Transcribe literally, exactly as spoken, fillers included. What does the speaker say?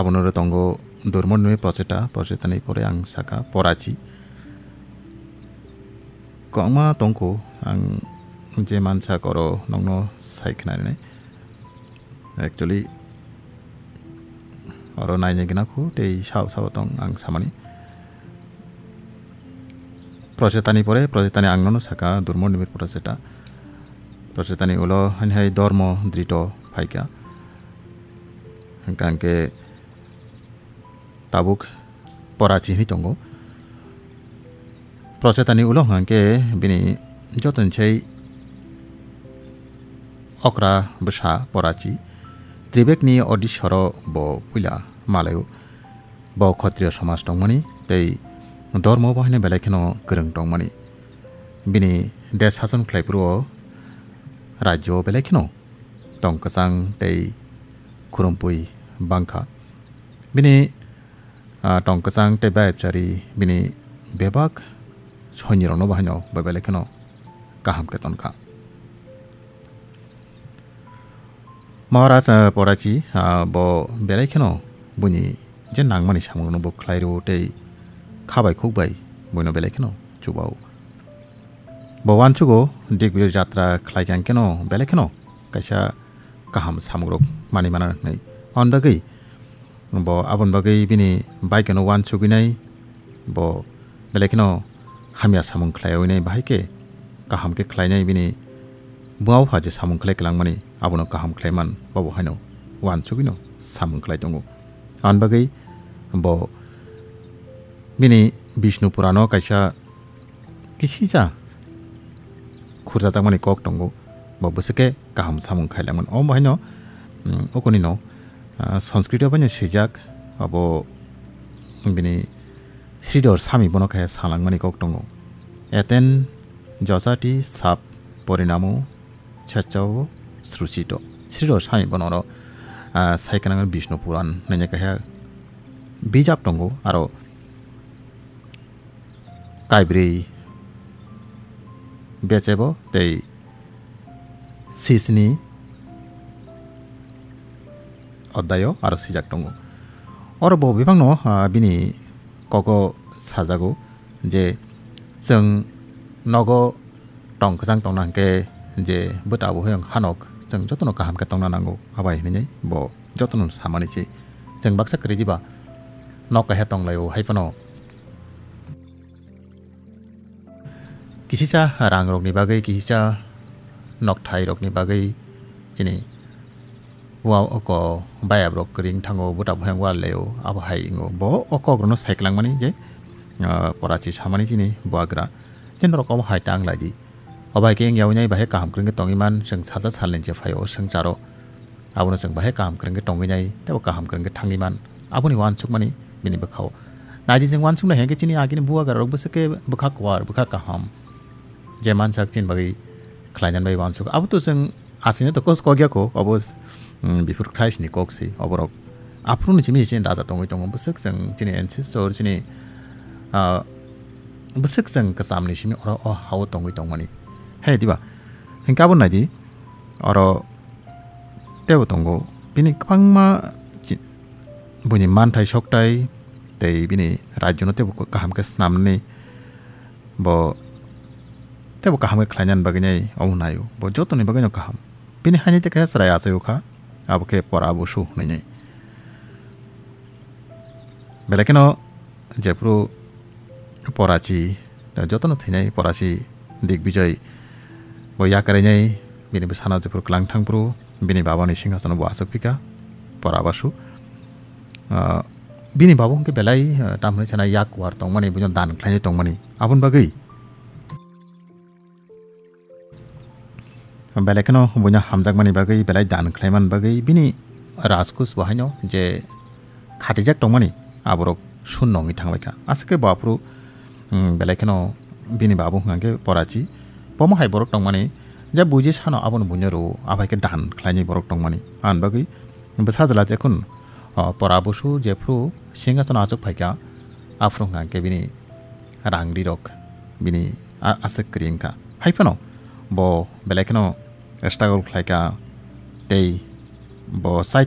Abono ro tongo Durmondimi Procheta, Prochetani pore ang saka Porachi. Kwbangma tongkho ang je mansa koro nokno sai khnarinai. Actually, oro naina gina khu tei sao sao tong ang samani. Prochetani pore, Prochetani ang nono saka Durmondimi Procheta. Prochetani ulo hani hai dormo drito phaikha. Hingka hingke tabuk Porachi hinwi tongo. Prochetani ulo hingka hingke bini jotoni sai okra bwsa Porachi. Tribekni odisoro bo puila malaio. Bo Khotriyo somaj tongmani tei dormo bo haino belai kheno kwrwng tongmani. Bini desh sason khlaiphuru o rajyo o belai kheno tong kwchang tei khurumpui bangkha. Bini, ah, tong kwchang tei bayapchari bini bebak soinirokno bo haino bo belai kheno kaham khe tonkha. Maharaj, ah, Porachi, ah, bo belai kheno buini je nangmani samungrokno bo khlai rwo tei kha bai khuk bai buino belai kheno chubao. Bo uansugo Digbijoy jatra khlai kha hingkheno belai kheno kaisa kaham samungrok manwi mana hwnwi. Aboni bagwi bo aboni bagwi bini baikeno uansugwi nai, bo belai kheno hamya samung khlaiwi nai, bahai khe kaham khe khlainai, bini buma bupha je samung khlai kwlangmani abono kaham khlaiman, bobo haino uansugwino samung khlai tongo. Aboni bagwi bo bini Bishnu Purano kaisa kisisa khurjajakmani kok tongo, bo bwswk khe kaham samung khailangmani. Omo haino, mm, okonino, ah, Sanskrit o baino swijak, abo bini Sridhar Swami bono khe salangmani kok tongo. Eten josati sab porinamo chachao sruchito. Sridhar Swami bono oro, ah, sai kanang Bishnu Puran hwnwi kaisa bijap tongo, aro kaibrwi bechebo tei sisni oddayo aro swijak tongo. Oro bo bebakno, ah, bini kogo sajago je chwng nogo tong kwchang tongna hwnkhe je bwta bo hoyong hanok chwng jotono kaham khe tongna nango, abai hinwi bo jotono samani se. Chwng baksa kwrwi diba nok kaisa tonglaio, hai phano kisisa rangrokni bagwi, kisisa nokthai rokni bagwi chini wa oko bayap rok kwrwi wng thango, bwta bo yang wal leo, abo hai wngo. Bo o kok rokno sai kwlangmani je, ah, Porachi samani chini buagra je norok obo hai ta wng lai di. Obo hai khe wng yaui nai bahai kaham kwrwng khe tongwi man, chwng salsa salni je phaio swngcharo. Abono chwng bahai kaham kwrwng khe tongwi nai, tei bo kaham kwrwng khe thangwi man. Aboni uansukmani bini bwkhao. Naidi chwng uansuknai hwnkhe chini agini buagra rok bwswk khe bwkha kwar, bwkha kaham. Je mansak chini bagwi khlainani bagwi uansuk. Abo to chwng aswkno to kos kok ya kho, obo, mm, before Christ ni kok si, oborok. Aphuru ni simi chini raja tongwi tongo, bwswk chwng chini ancestor, chini, ah, bwswk chwng kwcham ni simi oro o hao tongwi tongmani. Hai diba? Hwnkhe abo naidi, oro teibo tongo. Bini kwbangma chi-, buini manthai soktai tei bini rajyo no teibo kaham khe snamnani bo teibo kaham khe khlainani bagwi nai omo naio. Bo jotoni bagwino kaham. Bini haini tei kaisa chwrai achai o kha, abo khe Pora Busu hwnwi nai. Belai kheno jephuru Porachi, jotono thwinai Porachi Digbijoy bo yakarwi nai, bini bwsano jephuru kwlang thangphuru bini babani singhasono bo achuk phikha Pora Busu. Ah, bini babo hwnkhe belai, ah, tamhinwi sana yak war tongmani, buino dan khlainai tongmani. Aboni bagwi belai kheno buino hamjakmani bagwi, belai dan khlaimani bagwi bini rajkuch bo haino je khatijak tongmani aborok shunno wngwi thangbaikha. Aswk khe bo aphuru, mm, belai kheno bini babu hwnkha khe Porachi. Bomo hai borok tongmani je buji sano abono buino rwo, abai khe dan khlainai borok tongmani. Aboni bagwi bwsajla jekhun, o, Pora Busu jephuru singhasono achuk phaikha, aphuru hwnkha khe bini rang rirok bini a-, aswk kwrwi wngkha. Hai phano bo belai kheno struggle khlaikha tei bo chai